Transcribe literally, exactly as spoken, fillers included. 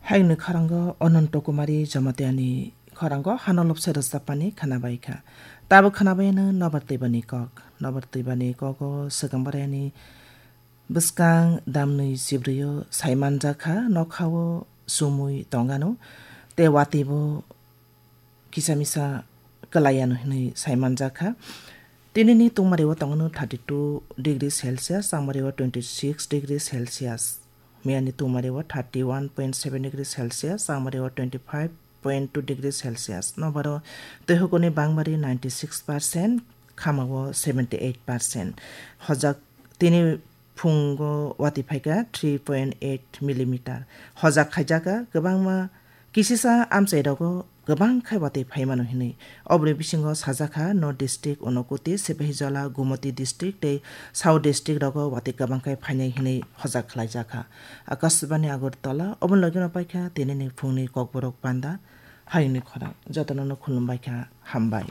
Hayungni khorango Ananto Kumari Jamatiani khorango hano lobse rwchapmani khwnabaikha. Tabuk khwnabaino Nobar Twibani kok. Nobar Twibani kogo swkang barani bwskang damnwi chibrwio saimanjakha, nokhao chumui tongano, tei watwibo kisa misa kwlaiano hinwi saimanjakha. Tinini tungmari o tongno thirty two degree Celsius, changmari o twenty six degree Celsius. Miyani tungmari o thirty one point seven degree Celsius, changmari o twenty five point two degree Celsius. Nobaro twi hukuni bangmari ninety six percent, khamao seventy eight percent. Hojak tini phungo watwi phaikha three point eight millimeter. Hojak khaijakha kwbangma kisisa amchairogo kwbang khai watwi phaimano hinwi. Oboni bisingo sajakha North District, Unakoti, Sepahijala, Gumoti District tei South District rogo watwi kwbang khai phainai hinwi hojak khlaijakha. Akashbani Agartala, oboni logino paikha tinini phungni kokborok panda. Hayungni khorang jotono no khulumbaikha, hambai.